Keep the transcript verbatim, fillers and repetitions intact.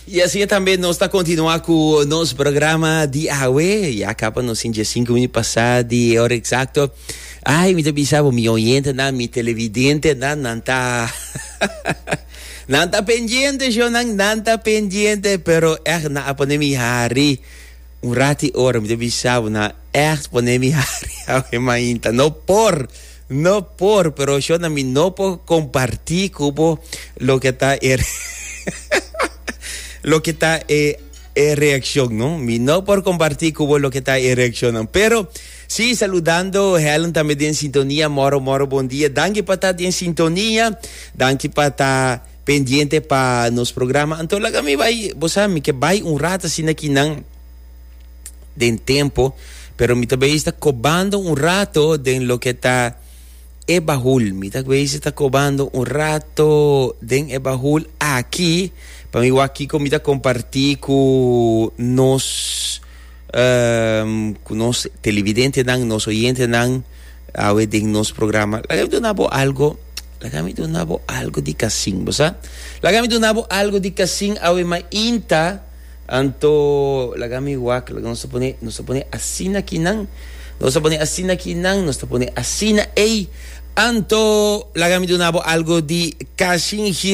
Y asina tambe nos ta continua cu nos programa di awe. Ya caba nos sinku minuut pasa di ora exacto. Ay, mi ta bisa mi oyente nan, mi televidente nan, nan ta nan ta pendiente, yo nan, nan ta pendiente, pero echt nan a pone mi hari. Un rati ora, mi ta bisa nan echt pone mi hari awe mainta. No por, no por, pero yo na mi no por comparti cu bo loke ta er loke ta e, e reaccion, no? Mi no por comparti cu bo loke ta e reaccion, no? Pero si, saludando Helen tambe den sintonia. Moro, moro, bon dia. Danki pa ta den sintonia. Danki pa ta pendiente pa nos programa. Anto, laga mi bay, bo mi ke bay un rato asina aki nan den tempo, pero mi tambe ta cobando un rato den loke ta e bahul. Mi tambe ta cobando un rato den e bahul aki, pa mi aki cu mi ta comparti cu nos um, cu nos televidente nan, nos oyente nan, awe den nos programa. Laga mi duna bo algo, laga mi duna bo algo di Cassin, bo sa? Laga mi duna bo algo di Cassin awe mainta. Anto, laga mi wak, laga nos pone, nos pone asina aki nan. Nos pone asina aki nan, nos pone asina ei. Anto, laga mi duna bo algo di Cassin Gil.